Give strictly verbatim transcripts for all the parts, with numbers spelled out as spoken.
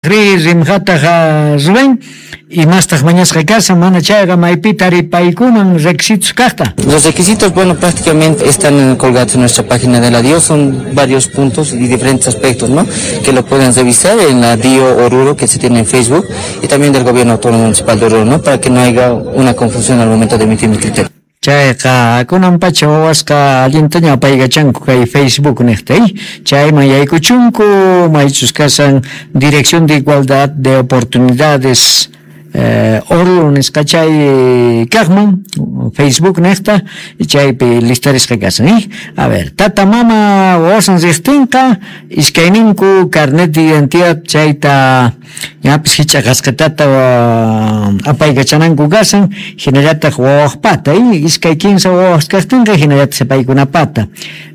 Rimqataqa Rubén imastaq mañasqa kashan mana chayqa maypi taripaykuman requisitos kaqta. Los requisitos, bueno, prácticamente están colgados en nuestra página de la D I O, son varios puntos y diferentes aspectos, ¿no?, que lo pueden revisar en la D I O Oruro que se tiene en Facebook y también del Gobierno Autónomo Municipal de Oruro, ¿no?, para que no haya una confusión al momento de emitir el criterio. Chayqa kunan pacha wawasqa allintaña apaykachanku kay Facebook niqta, chayman yaykuchunku maychus kashan Dirección de Igualdad de Oportunidades eh, Oruro nisqa chay kaqman Facebook niqta chaypi listarisqa kashan, eh? A ver, tata mama wawasan riqtinqa iskayninku carnet de identidad chayta ñapis hichaqasqatata apaykachananku kashan hinallataq wawaqpata, eh? Iskay kinsa wawas kaqtinqa hinallataq paykunapata,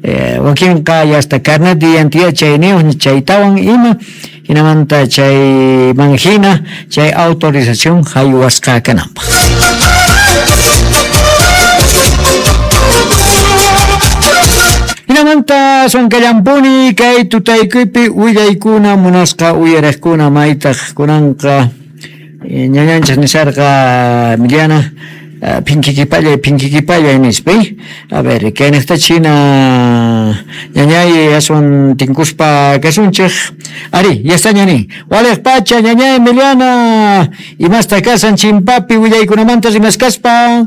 eh, wakinqa ya hasta carnet de identidad chayniyuq chaytawan ima hinamanta chayman hina chay autorización haywasqa kananpaq. Hinamanta sonkallampuni kay tutaykuypi willaykuna munasqa uyariqkuna maytaq kunanqa ñañanchis nisarqa Emiliana phinkikipallay phinkikipallay nispa. A ver, kayniqta china ñañay aswan tinkuspa kasunchik. Ari, ya está ñani. Waliq pacha ñañay Emiliana imasta kasan chimpapi willaykunamanta rimaskaspa.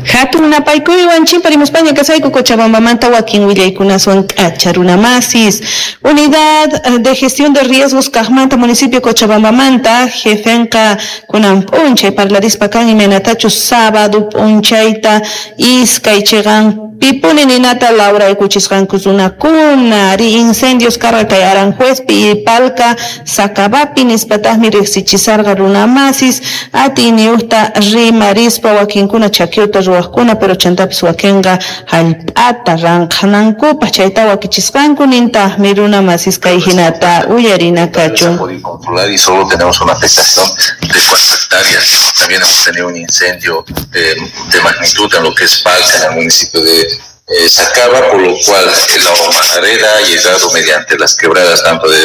Hatun napaykuywan chimparimuspaña kasayku Cochabambamanta wakin willaykunaswan k'acha runamasis. Unidad de Gestión de Riesgos kaqmanta municipio Cochabambamanta jefenqa kunan p'unchay parlarispa kan imaynatachus sábado p'unchayta iskay chiqan pipuni ninata lawraykuchisqanku runakuna ari incendios karqa kay Aranjuezpi y Palca Sacabapi nispataqmi riqsichisarqa runamasis atiyniyuqta rimarispa wakinkuna chakiuta ruwaqkuna pero chantapis wakinqa hallp'ata ranqhanankupaq chayta wakichisqanku nintaqmi runamasis kay hinata uyarina kachun. Controlar y solo tenemos una afectación de cuatro hectáreas. También hemos tenido un incendio de, de magnitud en lo que es Palca, en el municipio de eh, Sacaba, por lo cual la humareda ha llegado mediante las quebradas, tanto de,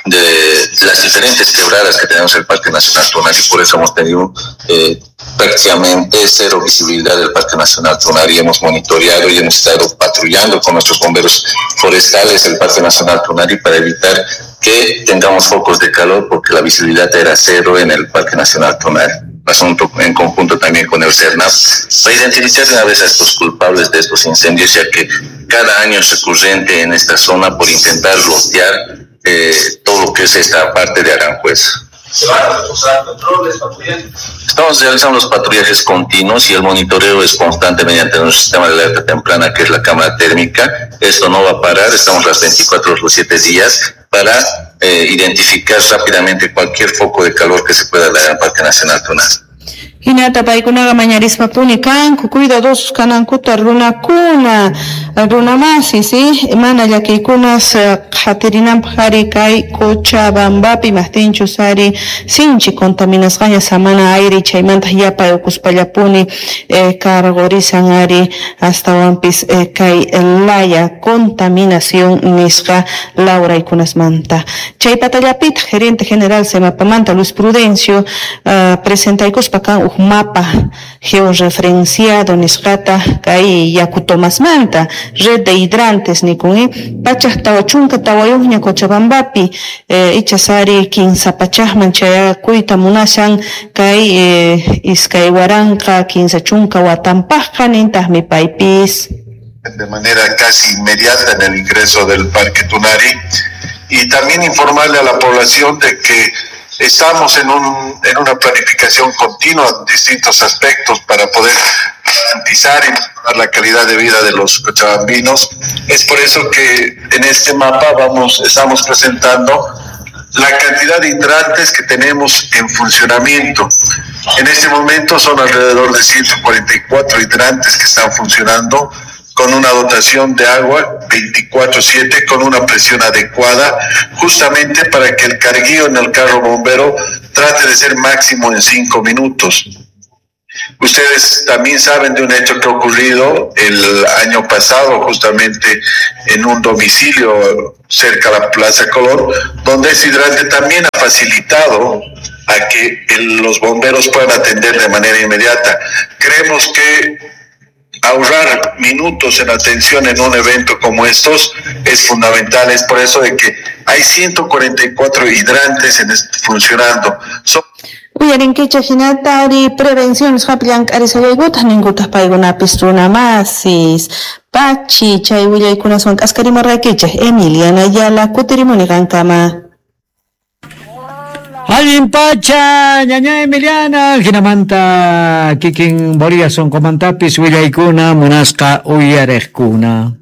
de las diferentes quebradas que tenemos en el Parque Nacional Tunari, por eso hemos tenido eh, prácticamente cero visibilidad del Parque Nacional Tunari. Hemos monitoreado y hemos estado patrullando con nuestros bomberos forestales el Parque Nacional Tunari para evitar que tengamos focos de calor, porque la visibilidad era cero en el Parque Nacional Tunari. Asunto en conjunto también con el SERNAP para identificar de una vez a estos culpables de estos incendios, ya que cada año es recurrente en esta zona por intentar lotear eh, todo lo que es esta parte de Aranjuez. ¿Se van a reforzar controles, patrullajes? Estamos realizando los patrullajes continuos y el monitoreo es constante mediante nuestro sistema de alerta temprana, que es la cámara térmica. Esto no va a parar, estamos las veinticuatro horas los siete días para eh, identificar rápidamente cualquier foco de calor que se pueda dar en el Parque Nacional Tunari. Hinata paykunaqa mañarispapuni kanku cuidadosos kanankuta runakuna runamasi, ¿sí? Mana llakiykunas qhatirinanpaq ari kay Cochabambapi maqtinchus ari sinchi contaminasqaña samana aire chaymanta yapay uquspallapuni eh, cargorisan ari astawanpis eh, kay laya contaminación nisqa lawraykunasmanta. Chay patallapitaq gerente general Semapamanta Luis Prudencio uh, presentaykuspa kan uj mapa georreferenciado nisqata kay yakutomasmanta red de hidrantes nikun eh? Pachaq tawa chunka tawayuqña Cochabambapi eh, ichasari kinsa pachaqman chayakuyta munashan kay eh, iskay waranqa kinsa chunka watanpaqqa nintaqmi paypis. De manera casi inmediata en el ingreso del Parque Tunari, y también informarle a la población de que estamos en, un, en una planificación continua en distintos aspectos para poder garantizar y mejorar la calidad de vida de los cochabambinos. Es por eso que en este mapa vamos, estamos presentando la cantidad de hidrantes que tenemos en funcionamiento. En este momento son alrededor de ciento cuarenta y cuatro hidrantes que están funcionando, con una dotación de agua veinticuatro siete, con una presión adecuada, justamente para que el carguío en el carro bombero trate de ser máximo en cinco minutos. Ustedes también saben de un hecho que ha ocurrido el año pasado, justamente en un domicilio cerca a la Plaza Colón, donde ese hidrante también ha facilitado a que el, los bomberos puedan atender de manera inmediata. Creemos que ahorrar minutos en atención en un evento como estos es fundamental. Es por eso de que hay ciento cuarenta y cuatro hidrantes en funcionando. Son Uyarinkichej hinatari prevención nisqapi llank'arisallaykutaj ninkutaj paykunapis runamasis pachi chay willaykunaswan k'askarimurqaykichej. Emiliana Ayala kutirimuni qankama. Allin pacha, ñaña Emiliana, hinamanta kikin Bolivia sonqomantapis willaykuna munasqa uyarejkuna.